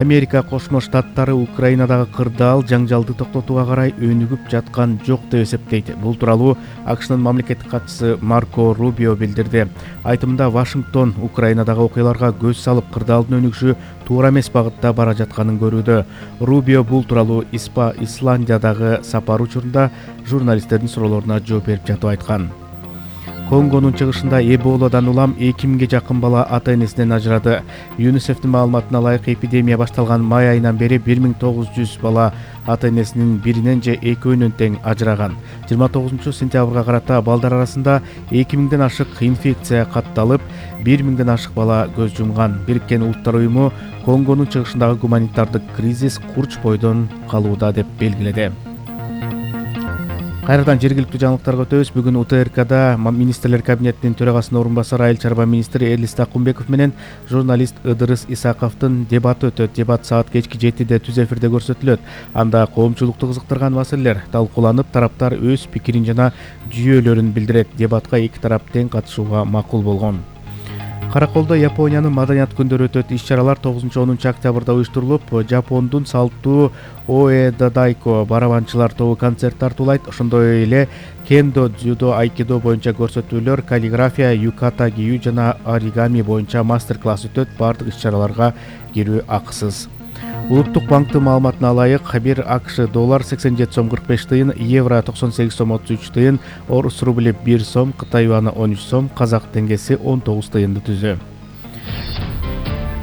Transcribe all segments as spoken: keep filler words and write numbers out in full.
Америка Кошмо Штаттары Украинадагы кырдаал жаңжалды токтотууга карай өнүгүп жаткан жок деп эсептейт. Бул тууралуу АКШнын мамлекеттик катчысы Марко Рубио билдирди. Айтымында Вашингтон Украинадагы окуяларга көз салып, кырдаалдын өнүгүшү туура эмес багытта бара жатканын көрүүдө. Рубио бул тууралуу Испа Исландиядагы сапар учурунда журналисттердин суроолоруна жооп берип жатып айткан. Конгонун чыгышында Эболадан улам эки миңге жакын бала ата-энесинен ажырады. ЮНИСЕФтин маалыматына ылайык, эпидемия башталган май айынан бери бир миң тогуз жүз бала ата-энесинин биринен же экөөнөн тең ажыраган. жыйырма тогузунчу сентябрга карата балдар арасында эки миңден ашык инфекция катталып, бир миңден ашык бала көз жумган. Бириккен Улуттар уюму Конгонун чыгышындагы гуманитардык кризис курч бойдон калууда деп белгиледи. Кайрадан жергиликтүү жаңылыктарга өтөбүз. Бүгүн УТРКда министрлер кабинетинин төрагасынын орун басары, айыл чарба министри Элис Такумбеков менен журналист Ыдырыс Исаковдун дебаты өтөт. Дебат саат кечки жетиде түз эфирде көрсөтүлөт. Анда коомчулукту кызыктырган маселелер талкууланып, тараптар өз пикирин жана жүйөлөрүн билдирет. Дебатка эки тарап тең катышууга макул болгон. Караколдо Япониянын маданият күндөрү өтөт. Иш-чаралар тогузунчу онунчу октябрда уюштурулуп, Жапондун салттуу Оэдадайко барабанчылар тобу концерт тартуулайт. Ошондой эле кендо, дзюдо, айкидо боюнча көрсөтүүлөр, каллиграфия, юката кийүү жана оригами боюнча мастер-класс өтөт. Бардык иш-чараларга кирүү акысыз. Улуттук банктын маалыматына ылайык, бир АКШ доллар сексен жети сом кырк беш тыйын, евро токсон сегиз сом отуз үч тыйын, орус рубли бир сом, Кытай юаны он үч сом, казак теңгеси он тогуз тыйынды түзүү.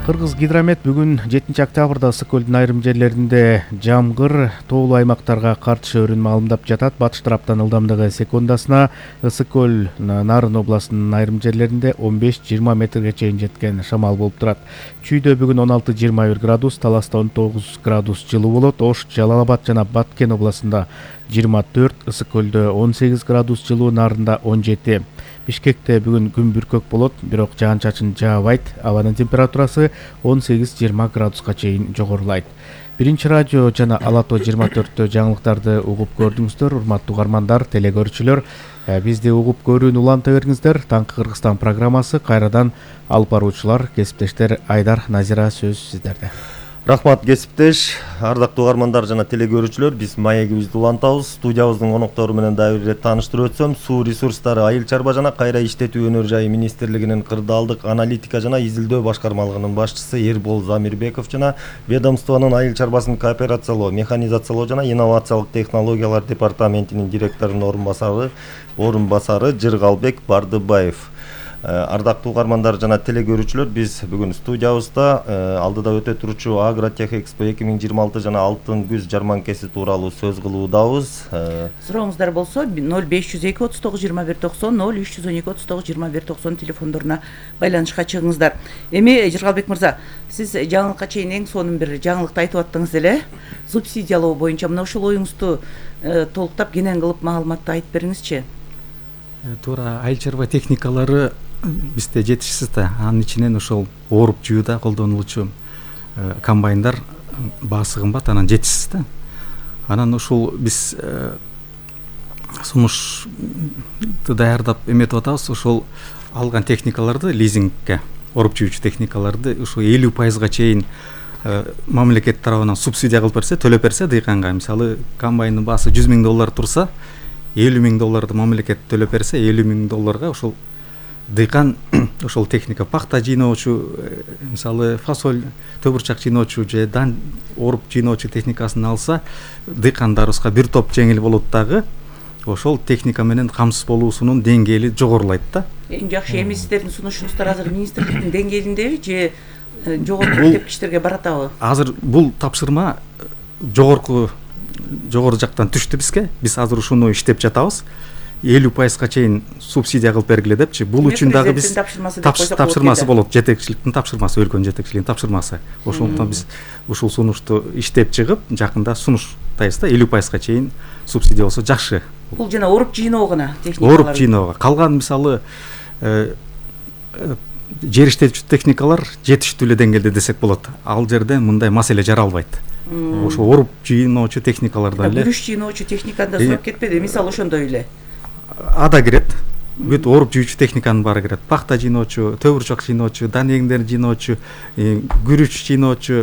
Кыргыз гидромет бүгүн жетинчи октябрда ысык көлдүн айрым жерлеринде жамгыр, тоолуу аймактарга кар түшөөрүн маалымдап жатат. Батыш тараптан ылдамдыгы секундасына ысык көл Нарын областынын айрым жерлеринде он беш жыйырма метрге чейин жеткен шамал болуп турат. Чүйдө бүгүн он алты жыйырма бир градус, Таласта он тогуз градус жылуу болот. Ош, Жалал Абад жана Баткен областында жыйырма төрт, ысык көлдө он сегиз градус жылуу, Нарында он жети. Бишкекте бүгүн күн бүркөк болот, бирок жаан-чачын жаабайт. Абанын температурасы он сегиз жыйырма градуска чейин жогорулайт. Биринчи радио жана Ала Тоо жыйырма төрттө жаңылыктарды угуп көрдүңүздөр. Урматтуу угармандар, телегөрүүчүлөр, бизди угуп көрүүнү уланта бериңиздер. Таңкы Кыргызстан программасы кайрадан алып баруучулар, кесиптештер Айдар, Назира, сөз сиздерде. Рахмат кесиптеш, ардактуу угармандар жана телегөрүүчүлөр, биз маегибизди улантабыз. Студиябыздын коноктору менен дагы бир ирет тааныштырып өтсөм, Суу ресурстары, айыл чарба жана кайра иштетүү өнөр жайы министрлигинин кырдаалдык аналитика жана изилдөө башкармалыгынын башчысы Эрбол Замирбеков жана ведомствонун айыл чарбасын кооперациялоо, механизациялоо жана инновациялык технологиялар департаментинин директорунун орун басары, орун басары Жыргалбек Бардыбаев. Ардактуу угармандар жана телегөрүүчүлөр, биз бүгүн студиябызда алдыда өтө турчу Агротехэкспо эки миң жыйырма алты жана алтын күз жарманкеси тууралуу сөз кылуудабыз. Сурооңуздар болсо ноль беш жүз эки отуз тогуз жыйырма бир токсон, ноль үч жүз он эки отуз тогуз жыйырма бир токсон телефондоруна байланышка чыгыңыздар. Эми Жыргалбек мырза, сиз жаңылыкка чейин эң сонун бир жаңылыкты айтып аттыңыз эле. Субсидиялоо боюнча мына ушул оюңузду толуктап, кенен кылып маалыматты айтып бериңизчи. Туура, айыл чарба техникалары бизде жетишсиз да. Анын ичинен ошол ооруп жуууда колдонулуучу комбайндар баасы кымбат, анан жетишсиз да. Анан ушул биз сунушту даярдап эметип атабыз. Ошол алган техникаларды лизингке, ооруп жуучу техникаларды ушу элүү пайызга чейин мамлекет тарабынан субсидия кылып берсе, төлөп берсе дыйканга, мисалы комбайндын баасы жүз миң доллар турса, элүү миң долларды мамлекет төлөп берсе, элүү миң долларга ошол дыйкан ошол техника, пахта жыйноочу, мисалы фасоль, төбүрчак жыйноочу же дан ооруп жыйноочу техникасын алса, дыйкандарыбызга бир топ жеңил болот дагы, ошол техника менен камсыз болуусунун деңгээли жогорулайт да. Эң жакшы эми сиздердин сунушуңуздар азыр министрликтин деңгээлиндеби же жогорку тепкичтерге баратабы? Азыр бул тапшырма жогорку жогору жактан түштү бизге. Биз азыр ушуну иштеп жатабыз. элүү пайызга чейин субсидия кылып бергиле депчи. Бул үчүн дагы биз тапшырмасы болот, жетекчиликтин тапшырмасы, өлкөнүн жетекчилигинин тапшырмасы. Ошондуктан биз ушул сунушту иштеп чыгып, жакында сунуштайбыз да, элүү пайызга чейин субсидия болсо жакшы. Бул жана ооруп жыйноо гана техникалар. Ооруп жыйноого. Калган мисалы жер иштетүүчү техникалар жетиштүү эле деңгээлде десек болот. Ал жерде мындай маселе жаралбайт. Ошо ооруп жыйноочу техникаларда эле. Күрүш жыйноочу техникада сурап кетпеди, мисалы ошондой эле. Ада кирет. бүт ооруп жүүчү техниканын баары кирет. Пахта жыйноочу, төбүрчөк жыйноочу, дан эгиндерин жыйноочу, күрүч жыйноочу,